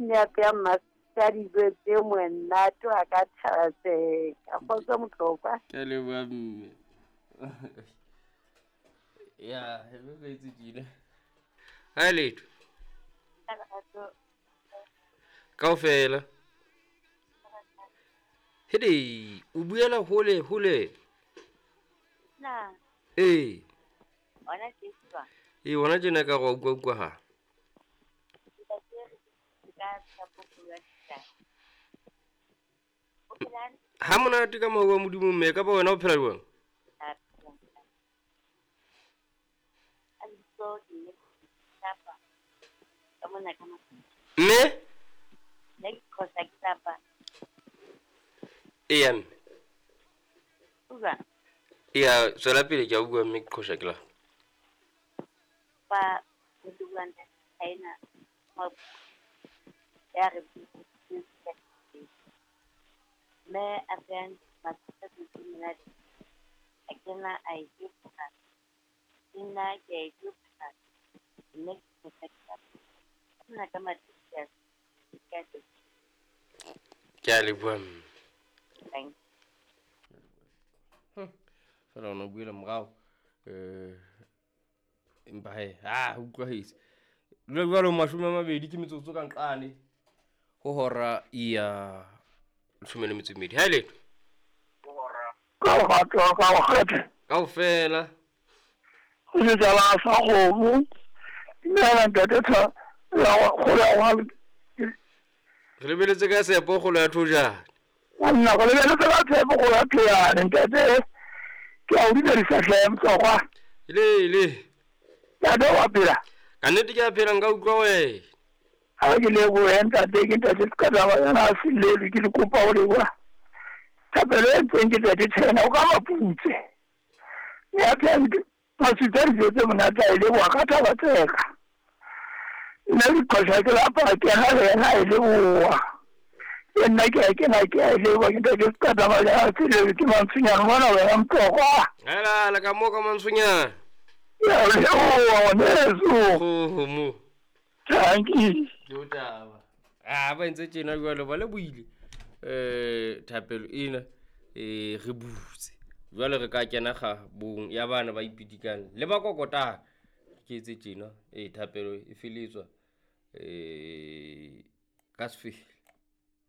Ne apeya mmasadi dijo tse monate wa ka thabaseka. Kgotso Motlokwa. Ke a leboha mme. Ya, e be ka etse tjena. Ha letho. Kaofela. Hede, o buela hole hole. Na. Ee. Hona tje jwang? Ee, hona tjena ka re wa utlwa utlwahala. Ha monate ka mohau wa Modimo mme ka ba wena o phela jwang? Mme? Eya mme. Eya, tswela pele ke a utlwa mme ke qhosha ke lapa. Ba ya re mme a feyang monate a kena a e ke nna ke a e mme ke ka matsatsi. Ke a leboha mme. Fela ona o buela morao. Empa he, ha utlwahetse. Jwale jwalo 20 ke metsotso ka nqane ho hora ya 12. Ha letho. Ka go ka go kgethe. Kaofela. Go setsala sa kgomo. Dumela ntate tha ya go ya wa. Re lebeletse ka tshepo kgolo ya thojane. Nna go lebeletse ka tshepo kgolo ya thojane ntate. Ke a o dumedisa hle Motlokwa. Le le. Ntate wa phela. Ka nnete ke a phela nka utlwa wena. Ha ke lebohe ntate, ke ntate ka taba yana a selelwe ke le kopa ho leboha. Thapelo e ntseng ke ntate tjhena o ka maputse. Mme a phela masutsa dijo tse monate a e leboha ka thaba tseka. Nna ke qhosha ke lapa ke ha le yena a e leboha. Le nna ke a kena ke a e leboha ke ntate ka taba ya selelwe ke Mantsonyane mona wena Motlokwa. Hela le ka mo ka Mantsonyane. Ya leboha ngwaneso. Kgomo. Thank you. Ke o taba. Ah, ba ntse tjena jwale ba le buile. Thapelo ena re butse. Jwale re ka kena ga bong ya bana ba ipitikang le ba kokotang. Ke etse tjena thapelo e feletswa ka sefele.